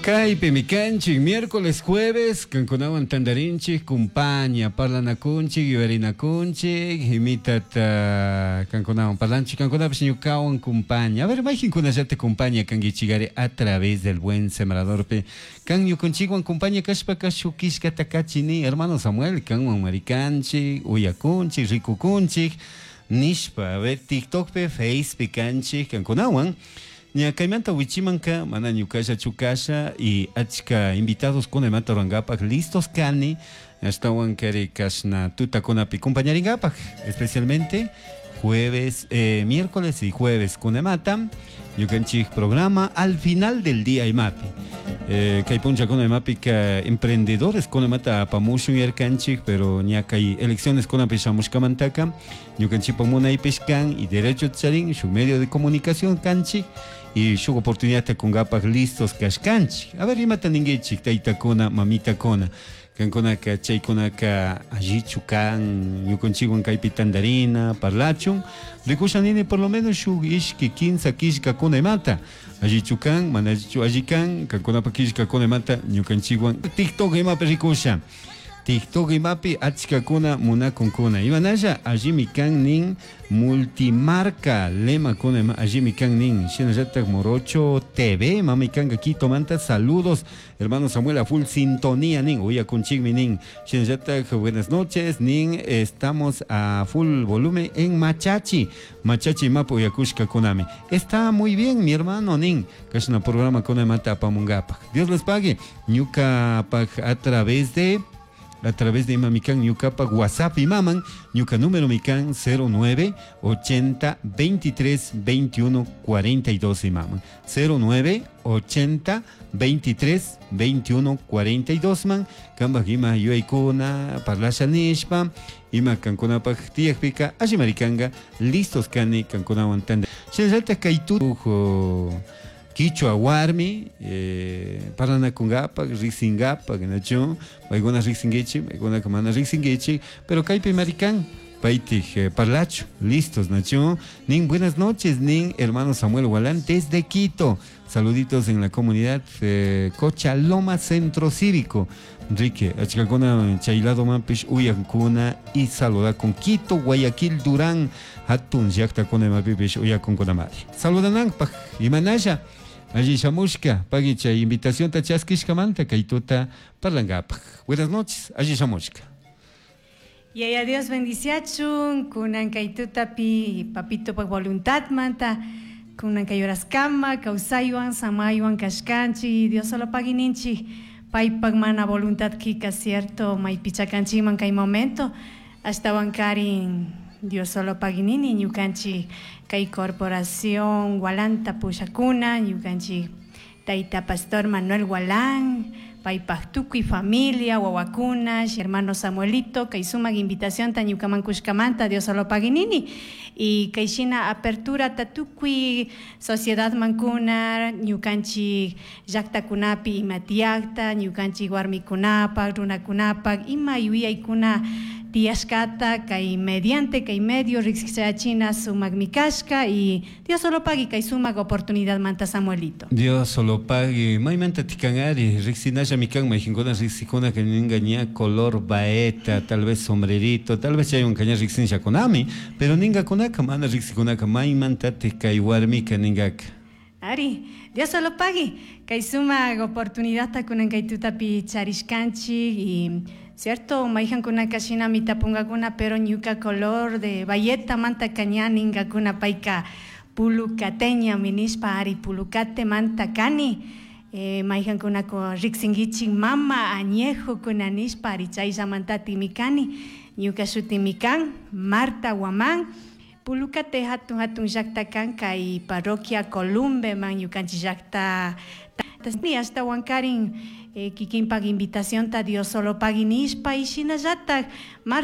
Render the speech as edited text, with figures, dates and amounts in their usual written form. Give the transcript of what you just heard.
Kaypimi kanchik miércoles jueves kankunawan tantarinchik kumpaña parlanakunchik yuyarinakunchik imitata kankunawan parlanchik kankunapish ñukawan kumpaña. A ver, mayqinkunallata kumpaña kankichikari a través del Buen Sembradorpi kan ñukunchikwan kumpaña kashpaka shuk killkata kachini hermano Samuel kanwan marikanchik uyakunchik rikukunchik nishpa. A ver, TikTokpi Facepi kanchik kankunawan. Ña kaymanta wichimanka mana ñukallachu kasha y achka invitados kunamanta rurankapak listos kani ashtawan kari kashna tutakunapi compañarinkapak especialmente jueves, miércoles y jueves kunamata ñukanchik programa al final del día imapi. Kay punchakuna imapika emprendedores kunamata apamushun yarkanchik pero ña kay elecciones kunapi shamushkamantaka ñukanchikpak munaypish kan y derecho charin shuk medio de comunicación kanchik y shuk oportunidad kunkapak listos kashkanchik. A ver, imata ninkichik taytakuna mamitakuna kankunaka chaykunaka allichu kan ñukanchikwan kaypi tantarina parlachun rikusha nini por lo menos shuk ishki kinsa killkakuna imata allichu kan mana allichu alli kan kankunapak killkakuna imata ñukanchikwan TikTok imapi rikusha TikTok imapi achkakuna munakunkuna imanalla allimi kan nin multimarca lemakuna ima allimi kan nin shinallatak Morocho TV mami kanka Quito manta saludos hermano Samuel a full sintonía nin uyakunchikmi nin shinallatak buenas noches nin estamos a full volumen en Machachi Machachi imapi uyakushkakunami está muy bien mi hermano nin kashna programa kuna imata apamunkapak Dios les pague ñukapak a través de imamikan ñukapak WhatsApp imaman ñuka número mikan 09 80 23 21 42 imaman 09 80 23 21 42 man kanpak ima yuyaykuna parlasha nishpa ima kankunapak tiyakpika alli marikanka listos kani kankunawan tanda shinallatak kay kichwa warmi parlanakunkapak riksinkapak nachu paykuna riksinkichik paykunaka mana riksinkichik pero kaypi marikan paytik parlachu listos nachu nin buenas noches nin hermano Samuel Gualán desde Quito saluditos en la comunidad Cochaloma Centro Cívico Enrique achkakuna chay ladomanpish uyankuna y saludakun Quito Guayaquil Durán hatun llaktakuna imapipish uyakunkunamari saludananpaq imanalla alli shamushka pagui chay invitacionta chaskishkamanta kay tuta parlankapak buenas noches alli shamushka. Yaya Dios bendiciachun, kunan kay tutapi papito pak voluntad manta, kunan kay kama, kawsaywan, samaywan kashkanchi, Dios solo pagininchi, paypak mana voluntad kika cierto, maypichakanchikman kay momento, ashtawan karin Dios solo paginini, ñukanchik kay corporación Walanta pushakuna, ñukanchik tayta pastor Manuel Gualán, paypak tukuy familia, wawakuna, hermano Samuelito, kay sumak invitación ta ñukaman kushkamanta, Dios solo paginini. Y kay shina apertura ta tukuy sociedad mankuna, ñukanchik llaktakunapi ima tiyakta, ñukanchik warmikunapak, runakunapak, ima yuyaykuna tiyashkata, kay mediante, kay medio riksichachina sumakmi kashka y Dios solo pagui kay sumak oportunidad manta Samuelito. Dios solo pagui maymanta tikanari riksinalla mikan mayqinkuna riksikuna ninga ña color baeta tal vez sombrerito tal vez chaywan kaña riksinllakunami pero ningakunaka mana riksikunaka maymantatik kay warmika ningaka. Ari, Dios solo pagui kay sumak oportunidad kunan kay tutapi charishkanchik y cierto mayqankunaka shinami tapungakuna pero ñuka color de bayeta manta kaña ningakuna payka pulucateña nishpa ari pulucate manta kani mayqankunaka riksinkichik mama añejo kuna nishpa ari chayllamantatimi kani ñuka shutimi kan Marta Guamán Pulucate hatun hatun llakta kan kay parroquia Columbe man ñukanchik llakta ashtawan karin kikinpak invitacionta Dios solo pagui nishpa y shinallatak.